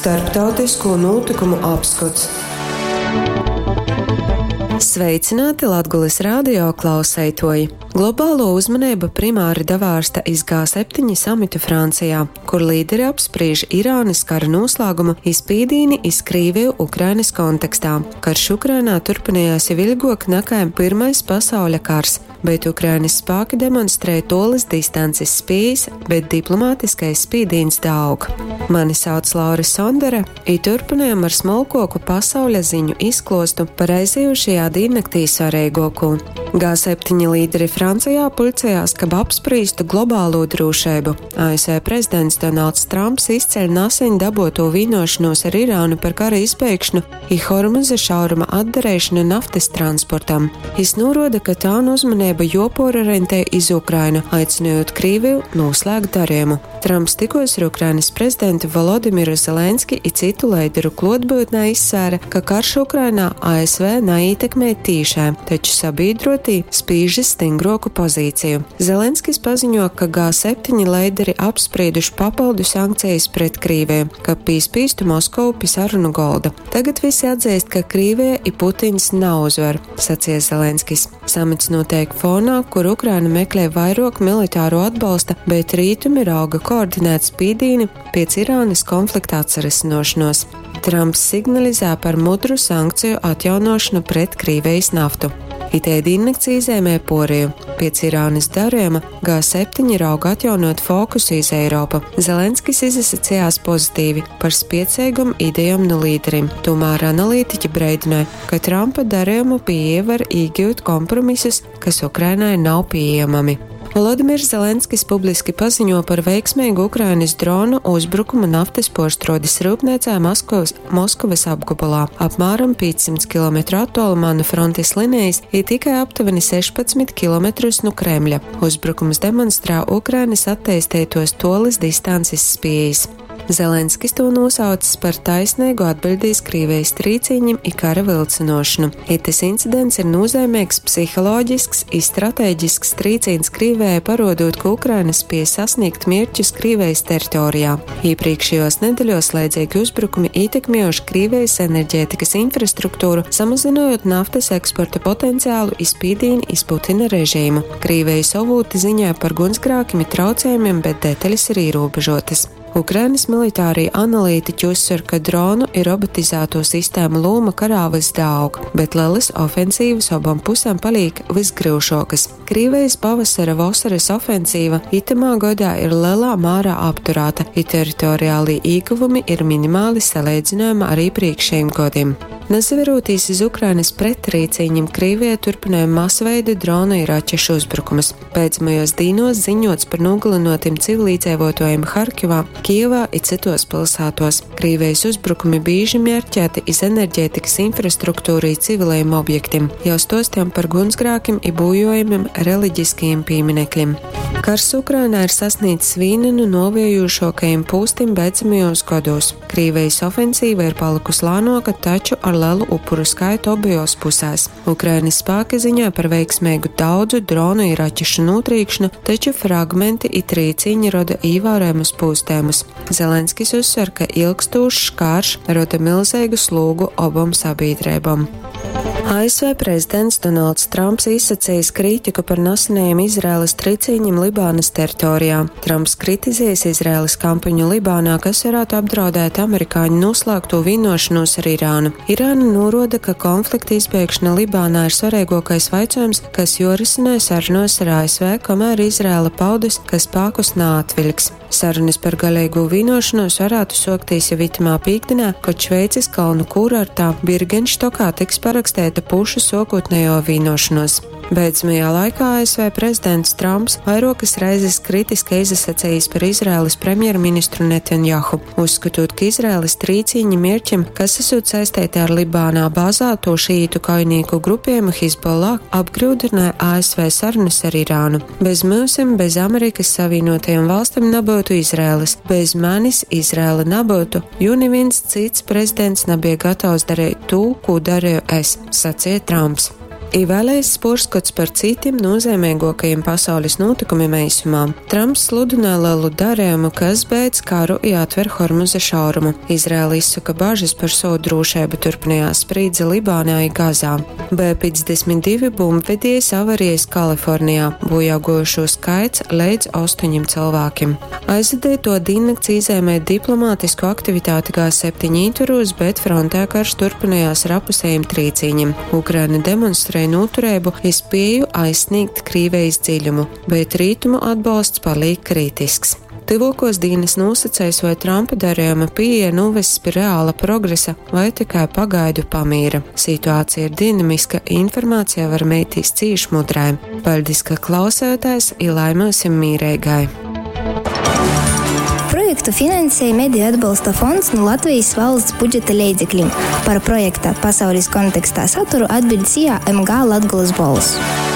Starptautisko nūtykumu apskots. Sveicināti Latgulis radio klauseitoji! Globālo uzmanību primāri davārsta iz G7 samitu Francijā, kur līderi apspriež Irānas kara noslēgumu i spīdīni iz Krīviju Ukrainas kontekstā. Karš Ukrainā turpinājās jau ilgāk nekā Pirmais pasauļa kars, bet Ukrainas spēki demonstrē tolas distances spējas, bet diplomātiskais spīdīns daug. Mani sauc Laura Sondere, i turpinājam ar smolkoku pasauļa ziņu izklostu par aizejušajā dīnnaktī svarīgāko. G7 līderi Francijā pulcējās, kab apspriestu globālo drošību. ASV prezidents Donalds Trumps izceļ nesen daboto vienošanos ar Irānu par kara izbeigšanu i Hormuza šauruma atdarīšanu naftas transportam. Jis noroda, ka tā uzmanība jopororientē iz Ukrainu, aicinot Krīviju noslēgt darījumu. Trumps tikos ar Ukrainas prezidentu Volodimiru Zelenski i citu leideru klotbūtnē izsvēra, ka karš Ukrainā ASV neietekmē tīšai, taču sabiedrotī spīž iz stingroku pozīciju. Zelenskis paziņo, ka G7 leideri apsprieduši papildu sankcijas pret Krīviju, ka pīspīstu Moskovu pie sarunu golda. Tagad visi atzīst, ka Krīvija i Putins nav uzvar, sacīja Zelenskis. Samits notiek fonā, kur Ukraina meklē vairāk militāro atbalsta, bet rītumi rauga koordinēt spīdīni pēc Irānas konflikta atsarisinošanos. Trumps signalizē par mudru sankciju atjaunošanu pret Krīvijas naftu. Itei diennakts īzēmē Poriju. Pēc Irānas darījuma G7 rauga atjaunot fokusu iz Eiropu. Zelenskis izsacījās pozitīvi par spiecīgum idejām no līderiem. Tomēr analītiķi breidināja, ka Trumpa darījumu pieeja var iegūt kompromisus, kas Ukrainai nav pieejami. Volodimirs Zelenskis publiski paziņo par veiksmīgu Ukrainas dronu uzbrukumu naftas porštrodes rūpniecā Maskavas, Moskavas apgabalā. Apmēram 500 km attālumā no frontes linijas ir tikai aptuveni 16 km no Kremļa. Uzbrukums demonstrē Ukrainas attīstītos tolis distances spējas. Zelenskis to nosaucis par taisnīgu atbildīs Krievijas trīciņam i kara vilcinošanu. Itis incidents ir nozīmīgs psiholoģisks i strateģisks trīcīns Krievijai, parodot, ka Ukraina spēja sasniegt mērķus Krievijas teritorijā. Iepriekšējos nedēļos slēdzīgi uzbrukumi ietekmējuši Krievijas enerģētikas infrastruktūru, samazinot naftas eksporta potenciālu i spīdīni iz Putina režīmu. Krievijas avūti ziņoja par gunsgrākiem i traucējumiem, bet detaļas ir ierobežotas. Ukrainas militārie analītiķi uzsver, ka dronu i robotizēto sistēmu loma karā vys daaug, bet lelas ofensīvas obom pusēm paliek vysgryušuokys. Krīvejis pavasara vosorys ofensīva itamā godā ir lelā mārā apturāta, i teritoriālī īguvumi ir minimāli saleidzinojumā ar īprīkšējim godim. Nasaverūtīs iz Ukrainas prettrīcīņim, Krīvija turpināja masveida dronu i raķešu uzbrukumus. Beidzamajos dīnos ziņots par nogalinotim civilīdzēvotājiem Harkivā, Kijevā i cytos pilsētos. Krīvijas uzbrukumi bīži mērķēti iz enerģētikas infrastruktūru i civilajiem objektiem, jau stostiem par gunsgrākim i būjojumiem reliģiskajiem pieminekļiem. Kars Ukrainā ir sasniedzis vīnu no noviejušākajiem pūstim beidzamajos gados. Krīvijas ofensīva ir palikusi lānoka, taču ar lielu upuru skaitu abajos pusēs. Ukrainas spēki ziņoja par veiksmīgu daudzu dronu i raķešu notrīkšanu, taču fragmenti i trīciņi roda ievērojamus pūstējumus. Zelenskis uzsver, ka ilgstūšs karš roda milzīgu slūgu obom sabiedrībām. ASV prezidents Donalds Trumps izsacījis kritiku par nesenajiem Izraēlas triciņiem Libānas teritorijā. Trumps kritizējis Izraēlas kampaņu Libānā, kas varētu apdraudēt amerikāņu noslēgto vienošanos ar Irānu. Irāna noroda, ka konflikta izbeigšana Libānā ir svarīgākais jautājums, kas jorisinās sarunos ar ASV, kamēr Izraēla paudus, ka spēkus neatvilks. Sarunas par galīgo vienošanos varētu sokties jau itamā pīkdienā, kad Šveices kalnu kūrortā Birgenštokā tiks parakstēta pušu sokotnējo vienošanos. Beidzamajā laikā ASV prezidents Trumps vairākas reizes kritiski izsacījis par Izraēlas premjerministru Netanjahu, uzskatot, ka Izraēlas trīcīņi mērķim, kas esot saistīti ar Libānā bāzēto šīītu kaujnieku grupējumu Hizbollah, apgrūdināja ASV sarunas ar Irānu. Bez mūsim, bez Amerikas Savienotajām valstīm nebūtu Izraēlas, bez manis Izraēla nebūtu, jo neviens cits prezidents nebija gatavs darīt to, ko darīju es, sacīja Trumps. I vēl eiss puorskots par cytim nūzeimeiguokajim pasaulis nūtykumim eisumā. Tramps sludynoj lelu darejumu, kas beidz karu i atver Hormuza šaurumu. Izraela izsoka bažys par sovu drūšeibu, turpynojās sprīdze Libānā i Gazā. B-52 bumbvediejs avariejs Kalifornijā, būjāguojušū skaits leidz ostoņim cylvākim. Aizvadeituo dīnnakts īzeimē diplomātisku aktivitāti G7 ītvorūs, bet frontē karš turpynojās ar apusejim trīcīņim. Ukraina demonstrē nūtureibu i spieju aizsnīgt Krīvejis dziļumu, bet rītumu atbolsts palīk kritisks. Tyvuokuos dīnys nūsaceis, voi Trampa darejuma pīeja nūvess pi reala progresa voi tikai pagaidu pamīra. Situācija ir dinamiska, informācija var meitīs cīš mudrai. Paļdis, ka klausējotēs, i lai myusim mīreigai! Projektu finansēja Mediju atbalsta fonds nu Latvijas valsts budžeta leidzeklim. Par projekta Pasaules kontekstā saturu atbiļd SIA MG Latgolas bolss.